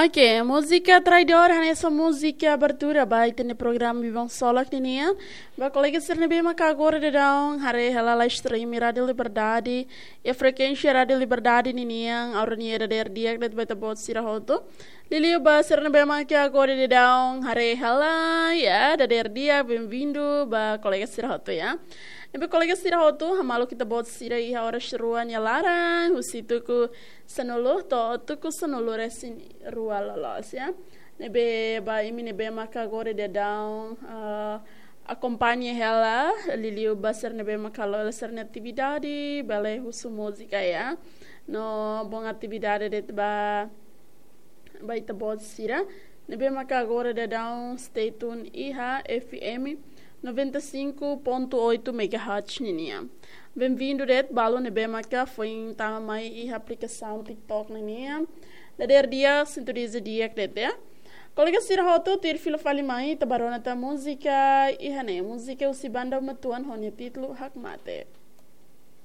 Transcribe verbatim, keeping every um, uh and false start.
Ok, múzika Traidór hanesan múzika abertura ba ita-nia programa Biban Solak ninian. Ba kolega sira ne'ebé maka agora daudaun haree hela live stream Rádio Liberdade, iha frekuénsia Rádio Liberdade ninian, ha'u hanoin dadeer di'ak de'it ba ita-boot sira hotu. Liuliu ba sira ne'ebé maka agora daudaun haree hela, ya, dadeer di'ak, benvindu ba kolega sira hotu, ya. Ne'ebé kolega sira hotu, hamaluk ita-boot sira iha oras rua nia laran, husi tuku sanulu to'o tuku sanulu-resin-rua loloos, ya. Ne'ebé ba imi ne'ebé maka agora daudaun, ah, akompaña hela, liuliu ba sira ne'ebé maka halo sira-nia atividade, bele husu múzika, ya. No bom atividade de'it ba, ba ita-boot sira ne'ebé maka agora daudaun stay tune iha F M noventa e cinco ponto oito megahertz ninian. Benvindu de'it balu ne'ebé maka foin tama mai iha aplikasaun TikTok ninian. Dadeer di'ak, sintu di'ak de'it, ya. Kolega sira hotu, tuir fila fali mai, ita bá rona tan múzika iha ne'e, múzika husi banda Uma Tuan ho nia títulu Hakmatek.